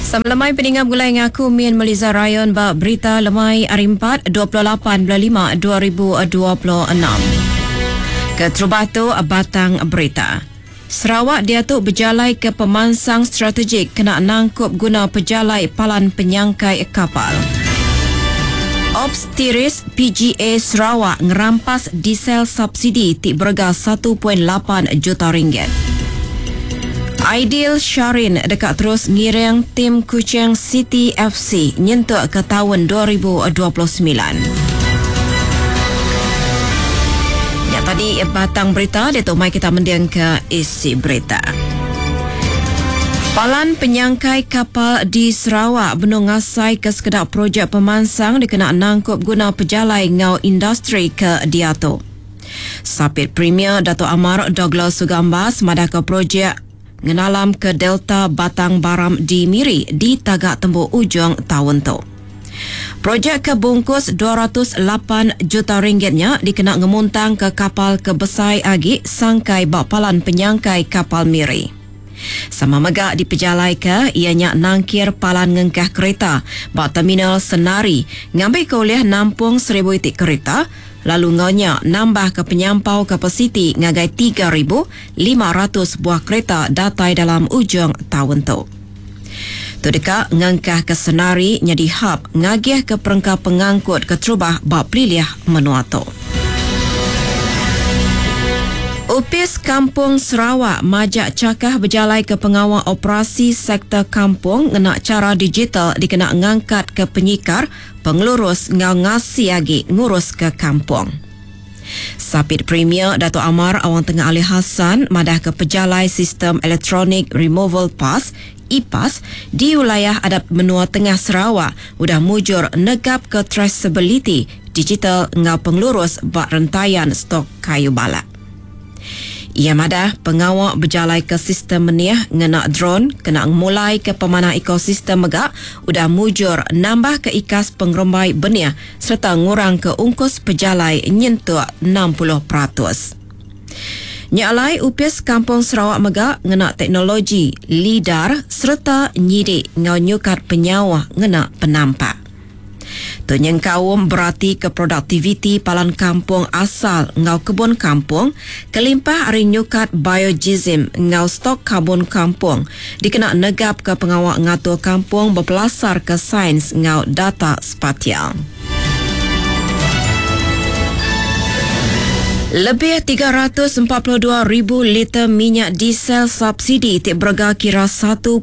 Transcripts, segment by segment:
Sama lemai peninga begulai enggau aku Min Meliza Rayon ba Berita Lemai Hari Empat 28 bulan 5 2026. Keterubah tu batang berita. Sarawak diatu bejalai ke pemansang strategik kena nangkup guna pejalai palan penyangkai kapal. Ops Tiris PGA Sarawak ngerampas diesel subsidi ti berega 1.8 juta ringgit. Aidil Sharin deka terus ngiring tim Kuching City FC nyentuk ke taun 2029. Nya tadi batang berita diatu mai kita mendingka isi berita. Palan penyangkai kapal di Sarawak benung ngasaika sekeda projek pemansang dikena nangkup guna pejalai enggau industri ke diatu. Sapit Premier Datuk Amar Douglas Sugambas madahka projek ngenalamka Delta Batang Baram di Miri ditaga tembu ujung taun tu. Projek ke bungkus 208 juta ringgit nya dikena ngemuntangka kapal ke besai agi sangkai ba Palan Penyangkai Kapal Miri. Sama mega dipejalaika iya nya nangkir palan ngengkah kerita ba Terminal Senari ngambika ulih nampung seribu iti kerita lalu enggau nya nambahka penyampau kapasiti ngagai 3,500 buah kerita datai dalam ujung taun tu. Tu deka ngengkahka Senari nyadi hab ngagihka perengka pengangkut keterubah ba pelilih menua tu. Opis Kampung Sarawak majak chakah bejalaika pengawa operasi sektor kampung ngena chara digital dikena ngangkatka penyikar, pengelurus enggau ngasi agi nguruska kampung. Sapit Premier Datuk Amar Awang Tengah Ali Hassan madahka pejalai sistem Electronic Removal Pass, e-Pass, di wilayah adap menua tengah Sarawak udah mujur negapka traceability digital enggau pengelurus ba rentayan stok kayu balak. Iya madah, pengawa bejalaika sistem menih ngena dron kena ngemulaika pemanah ekosistem mega udah mujur nambahka ikas pengerembai benih sereta ngurangka ungkus pejalai nyentuk 60%. Nya alai, Opis Kampung Sarawak mega ngena teknologi lidar sereta nyidik enggau nyukat penyauh ngena penampak. Tu nyengkaum beratika produktiviti palan kampung asal enggau kebun kampung kelimpah ari nyukat biojisim enggau stok karbon kampung dikena negapka pengawa ngatur kampung bepelasarka sains enggau data spatial. Lebih 342,000 liter minyak diesel subsidi ti berega kira 1.8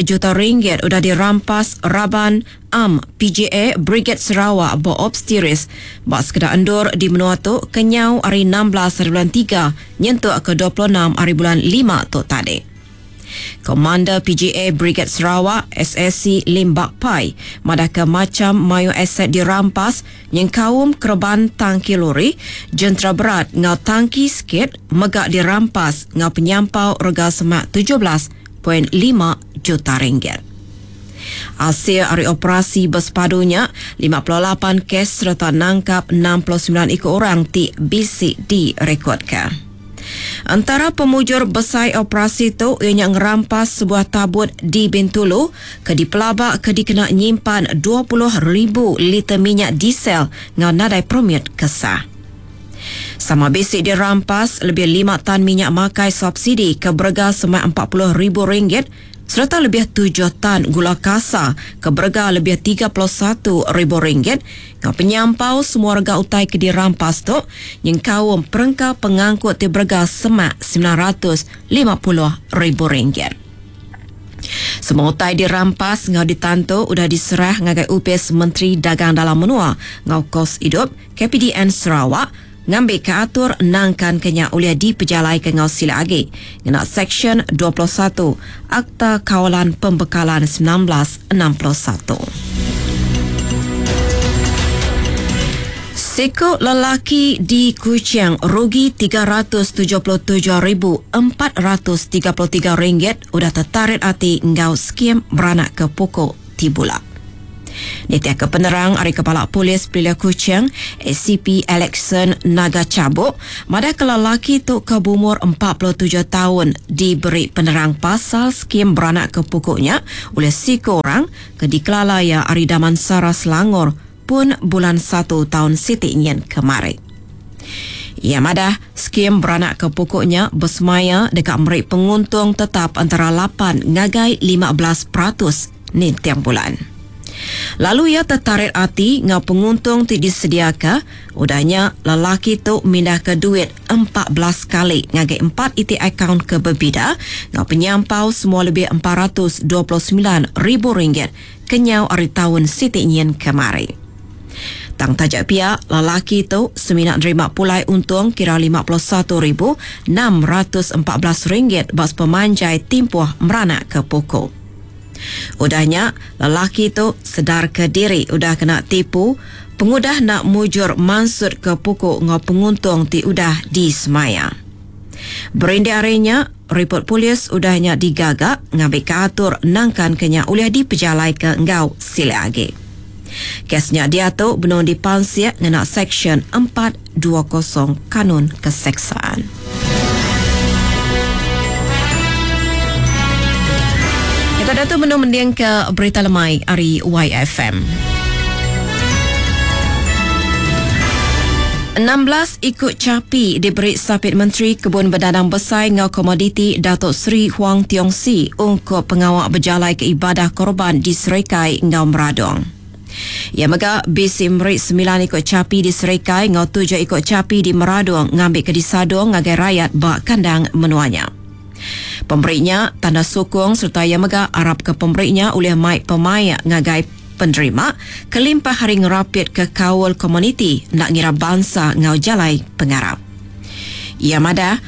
juta ringgit udah dirampas raban Am PJA Briged Sarawak ba Ops Tiris ba sekeda endur di menua tu kenyau ari 16 hari bulan tiga nyentuk ke 26 hari bulan lima tu tadi. Komander PGA Briged Sarawak, SAC Lim Bak Pai, madahka macham mayuh aset dirampas nyengkaum kereban tangki lori, jentera berat enggau tangki skate mega dirampas enggau penyampau rega semak 17.5 juta ringgit. Asil ari operasi besepadu nya, 58 kes sereta nangkap 69 iku orang ti bisi direkodka. Entara pemujur besai operasi tu iya nya ngerampas sebuah tabut di Bintulu ke dipelaba ke dikena nyimpan 20,000 liter minyak diesel enggau nadai permit ke sah. Sama bisi dirampas lebih lima tan minyak makai subsidi ke berega semak 40,000 ringgit sereta lebih tujuh tan gula kasa ke berega lebih 31 ribu ringgit enggau penyampau semua rega utai ke dirampas tu nyengkaum perengka pengangkut ti berega semak 950 ribu ringgit. Semua utai dirampas enggau ditantu udah diserah ngagai Opis Menteri Dagang Dalam Menua enggau Kos Idup KPDN Sarawak ngambika atur nangkan ke nya ulih dipejalaika enggau silik agi ngena Seksyen 21 Akta Kawalan Pembekalan 1961. Siku lelaki di Kuching rugi 377,433 ringgit udah tetarit ati enggau skim beranak ke pokok ti bula. Nitihka penerang ari Kepala Polis Pelilih Kuching, ACP Alexson Naga Chabok, madahka lelaki tu ke beumur 47 taun diberi penerang pasal skim beranakka puku nya ulih siku orang ke dikelala iya ari Damansara Selangor pun bulan satu taun siti nyin kemari. Iya madah, skim beranakka puku nya besemaya deka meri penguntung tetap entara lapan ngagai 15% ninting bulan. Lalu iya tetarit ati enggau penguntung ti disediaka, udah nya lelaki tu mindahka duit 14 kali ngagai empat iti akaun ke bebida enggau penyampau semua lebih 429 ribu ringgit kenyau ari taun siti nyin kemari. Tang taja pia, lelaki tu semina nerima pulai untung kira 51 614 ringgit ba sepemanjai timpuh meranakka puku. Udah nya, lelaki tu sedarka diri udah kena tipu pengudah enda mujur mansutka puku enggau penguntung ti udah disemaya. Berindik ari nya, ripot polis udah nya digaga ngambika atur nangkanka nya ulih dipejalaika enggau silik agi. Kes nya diatu benung dipansik ngena Seksyen 420 Kanun Keseksaan. Kita diatu benung mendingka berita lemai ari YFM. 16 iku chapi diberi Sapit Menteri Kebun Bedandang Besai enggau Komoditi Datuk Seri Huang Tiong Sii ungkup pengawa bejalaika ibadah korban di Serikai enggau Meradong. Iya mega bisi meri semilan iku chapi di Serikai enggau tujuh iku chapi di Meradong ngambika disadung ngagai rayat ba kandang menua nya. Pemeri nya tanda sukung sereta iya mega arapka pemeri nya ulih mai pemaik ngagai penerima kelimpah ari ngerapitka kaul komuniti enda ngira bansa enggau jalai pengarap. Iya madah,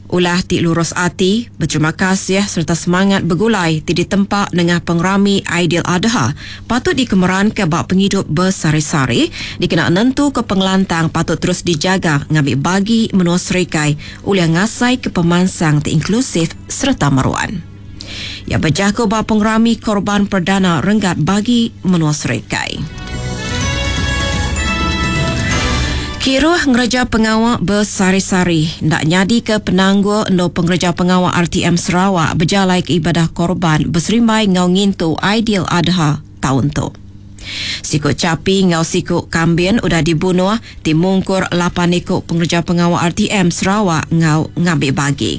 ulah ti lurus ati, beterima kasih sereta semangat begulai ti ditempa nengah pengerami Aidiladha patut dikemeranka ba pengidup besehari-sehari dikena nentuka pengelantang patut terus dijaga ngambi bagi menua Serikai ulih ngasaika pemansang ti inklusif sereta meruan. Iya bejaku ba pengerami Korban Perdana Renggat Bagi Menua Serikai. Kiruh ngereja pengawa besehari-sehari enda nyadika penanggul endur pengereja pengawa RTM Sarawak bejalaika ibadah korban beserimbai enggau ngintu Aidiladha taun tu. Siku chapi enggau siku kambin udah dibunuh ti mungkur lapan iku pengereja pengawa RTM Sarawak enggau ngambi bagi.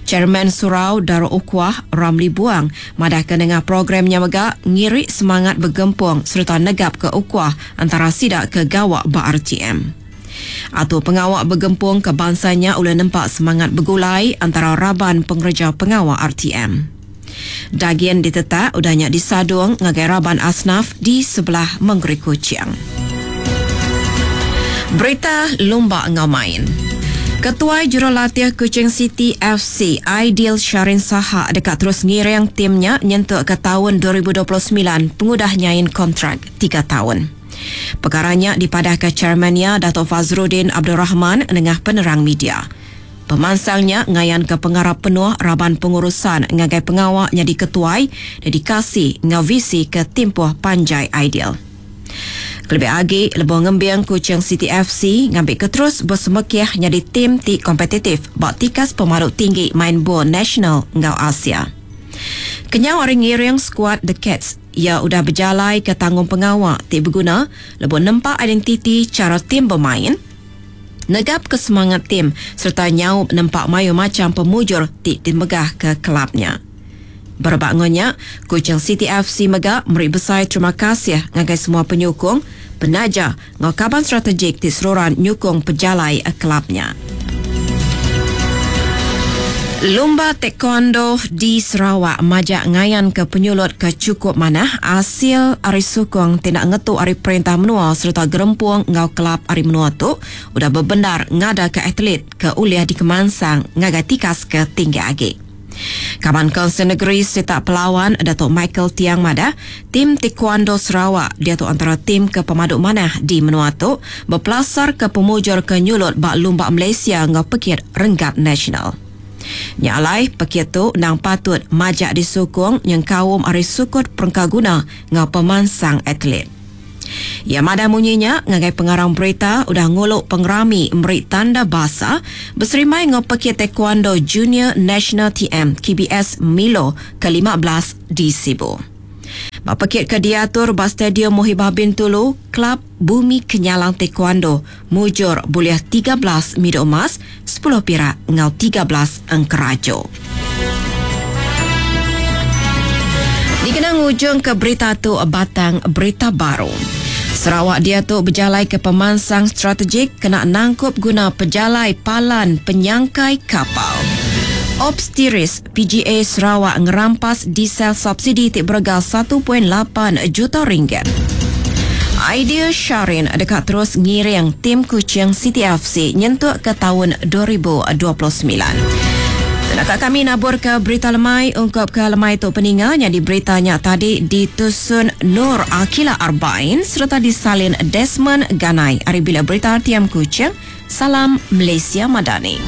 Chairman Surau Darul Ukhuwah, Ramli Buang, madahka nengah program nya mega ngiri semangat begempung sereta negapka ukhuwah antara sida ke gawa ba RTM. Atur pengawa begempung ke bansa nya ulih nempa semangat begulai antara raban pengereja pengawa RTM. Dagin ditetak udah nya disadung ngagai raban asnaf di sebelah mengeri Kuching. Berita lumba enggau main. Ketuai Jurulatih Kuching City FC, Aidil Sharin Sahak deka terus ngiring tim nya nyentuk ke taun 2029 pengudah nyain kontrak tiga taun. Pekara nya dipadahka chairman iya Dato Fazzrudin Abdul Rahman nengah penerang media. Pemansang nya ngayanka pengarap penuh raban pengurusan ngagai pengawa nyadi ketuai, dedikasi enggau visi ke timpuh panjai ideal. Kelebih agi lebuh ngembing Kuching City FC ngambika terus besemekih nyadi tim ti kompetitif ba tikas pemadu tinggi main bol nasional enggau Asia. Kenyau ari ngiring skuad The Cats, iya udah bejalaika tanggungpengawa ti beguna lebuh nempa identiti chara tim bemain, negapka semangat tim sereta nyaup nempa mayuh macham pemujur ti ditemegahka kelab nya. Berebak enggau nya, Kuching City FC mega meri besai terima kasih ngagai semua penyukung, penaja enggau kaban strategik ti seruran nyukung pejalai kelab nya. Lumba Taekwondo di Sarawak majak ngayanka penyulut ke chukup manah asil ari sukung ti enda ngetu ari perintah menua sereta gerempung enggau kelab ari menua tu udah bebendar ngadaka atlet ke ulih dikemansang ngagai tikas ke tinggi agi. Kaban Kaunsil Negeri Sitak Pelawan Datuk Michael Tiang madah, tim Taekwondo Sarawak diatu antara tim ke pemadu manah di menua tu bepelasarka pemujur ke nyulut ba Lumba Malaysia enggau pekit renggat nasional. Nya alai, pekit tu endang patut majak disukung nyengkaum ari sukut perengkaguna enggau pemansang atlet. Iya madah munyi nya ngagai pengarang berita udah ngulu pengerami meri tanda basa beserimbai enggau Pekit Taekwondo Junior National TM KBS Milo ke 15 di Sibu. Ba pekit ke diatur ba Stadium Muhibah Bintulu, Kelab Bumi Kenyalang Taekwondo mujur bulih 13 midul emas, 10 pirak enggau 13 engkeraju. Dikena ngujungka berita tu batang berita baru. Sarawak diatu bejalaika pemansang strategik kena nangkup guna pejalai palan penyangkai kapal. Ops Tiris PGA Sarawak ngerampas diesel subsidi ti berega 1.8 juta ringgit. Aidil Sharin deka terus ngiring tim Kuching City FC nyentuk ke taun 2029. Naka kami naburka berita lemai ungkup ke lemai tu peninga nyadi berita nya tadi ditusun Nur Akila Arbain sereta disalin Desmond Ganai ari Bilik Berita RTM Kuching. Salam Malaysia Madani.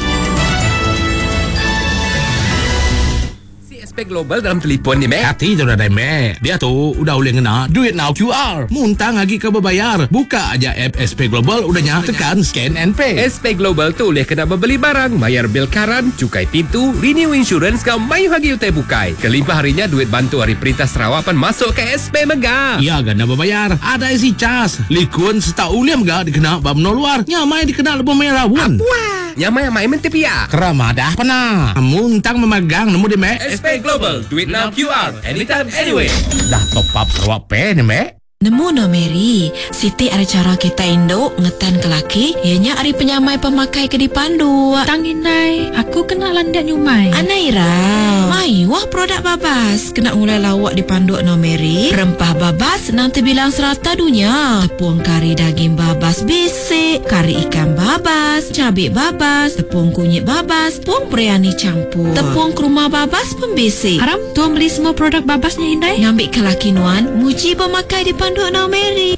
CSP Global dalam telipon ni meh. Kati tu nadai meh. Diatu udah ulih ngena duit enggau QR. Muntang agi ke bebayar. Buka aja app SP Global udah nya tekan scan and pay. SP Global tu ulih kena bebeli barang, mayar bil karan, chukai pintu, renew insurance enggau mayuh agi utai bukai. Kelimpah ari nya duit bantu ari perintah Sarawak pan masuk ke SP mega. Iya ga enda bebayar. Adai isi cas, likun sereta ulih mega dikena ba menua luar. Nya mai dikena lebuh maya raun. Apuah. Nyamai amai menti pia. Kera madah pena. Muntang memagang nemu di mek. SP Global, duit now QR, anytime anywhere. Dah top up Sarawak Pay ni mek. Nemu no Mary, siti ari chara kitai indu ngetanka laki iya nya ari penyamai pemakai ke dipanduk. Tang indai, aku kena landik nyumai. Anai irau. Mayuh produk babas kena ngulai lauk dipanduk no Mary. Rempah babas nang tebilang serata dunya. Tepung kari daging babas bisi, kari ikan babas, cabi babas, tepung kunyit babas, tepung biryani champur, tepung kurma babas pun bisi. Aram, tua meli semua produk babas nya indai. Ngambika laki nuan muji pemakai dipanduk enggau Mary.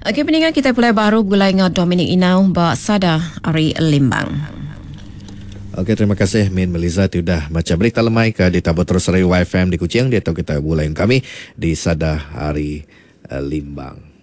Okey peninga kitai pulai baru begulai enggau Dominic Inau ba Sada ari Limbang. Okey terima kasih Min Meliza ti udah macha berita lemai ke ditabur terus ari YFM di Kuching diatu kita begulai enggau kami di Sada ari Limbang.